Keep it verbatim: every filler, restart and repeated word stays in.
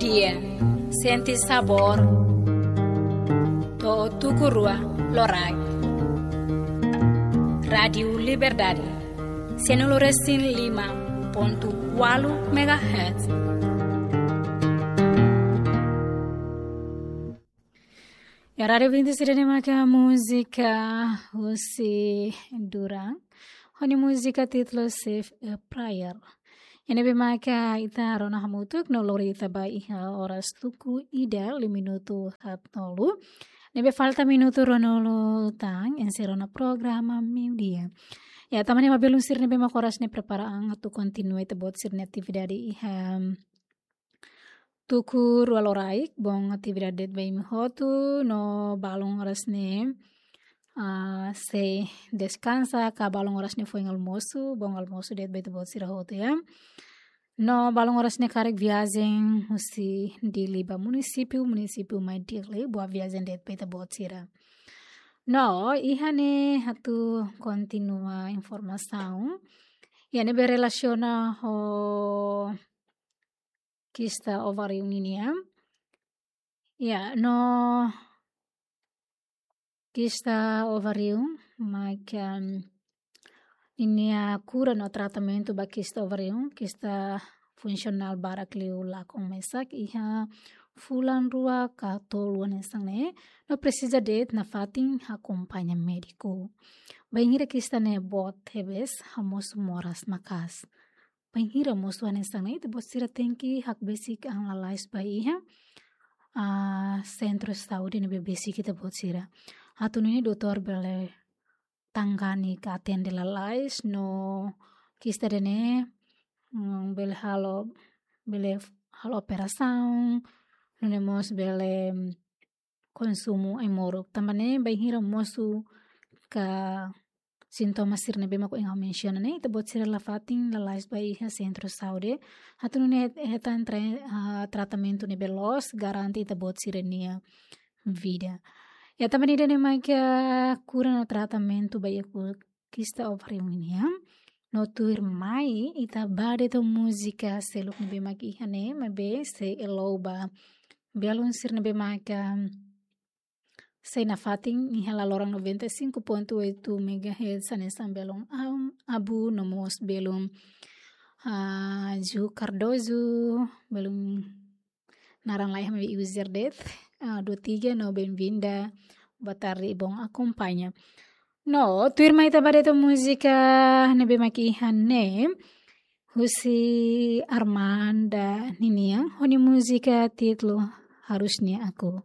Dia, sente sabór. To'o tuku rua loraik. Rádiu Liberdade, cento e cinco e cinco ponto oito megahertz. Ya, rádiu ouvinte sira ne'ebé maka múzika husi Duran. Ho nia múzika títulu Save a Prayer. Ne'ebé maka ita rona hamutuk no lori ita ba iha oras tuku ida liu minutu haat-nulu. Ne'ebé falta minutu ruanulu tan, enserra ona programa meiudia. Ya, tanba ne'e ba belun sira ne'ebé maka oras ne'e prepara an atu kontinua ita-boot sira-nia atividade iha tuku rua loraik, boot atividade de'it ba imi hotu, no balun oras ne'e, ah, sei deskansa, ka balun oras ne'e foin almosu, boot almosu de'it ba ita-boot sira hotu, ya. No balun oras ne'e karik viajen husi Dili ba munisípiu, munisípiu mai Dili, boa viajen de'it ba ita-boot sira. No, iha ne'e atu kontinua informasaun. Ya, ne'ebé relasiona ho kista ováriu ninian. Ya, no kista ováriu, maka ninia kura no tratamentu ba kista ováriu, kista funsionál barak liu lakon mesak iha fulan rua ka tolu hanesan ne'e, no presiza de'it nafatin akompaña médiku. Bainhira kista ne'e boot tebes, hamosu moras maka'as. Bainhira mosu hanesan ne'e, ita-boot sira tenke hakbesik an lalais ba iha, ah, sentru saúde ne'ebé besik ita-boot sira. Atu nune'e doutór bele tangani ka atende lalais no kista ida-ne'e, mm, bele halo, bele halo operasaun, nune'e mós bele, mm, konsumu ai-moruk. Tanba ne'e bainhira mosu ka sintoma sira ne'ebé mak ohin ha'u mensiona ne'e, ita-boot sira nafatin lalais ba iha sentru saúde. Atu nune'e het-, hetan tra-, ah, tratamentu ne'ebé loos, garante ita-boot sira-nia vida. Ya, tanba ne'e ida-ne'e maka kura no tratamentu ba iha ku-, kista ováriu ninian. No tuirmai ita ba de'it ho múzika seluk ne'ebé mak iha ne'e, maibé sei elou ba belun sira ne'ebé maka sei nafatin iha laloran noventa e cinco ponto oito megahertz, hanesan belun Am-, Abu, no mós belun, ah, Ju Cardoso, belun naran laiha maibé user de'it, ah, dua tiga, no bem-vinda, boa tarde, bom acompanha. No, tuirmai ita ba de'it ho múzika ne'ebé mak iha ne'e, husi Armanda ninian, ho nia múzika títulu Harusnya Aku.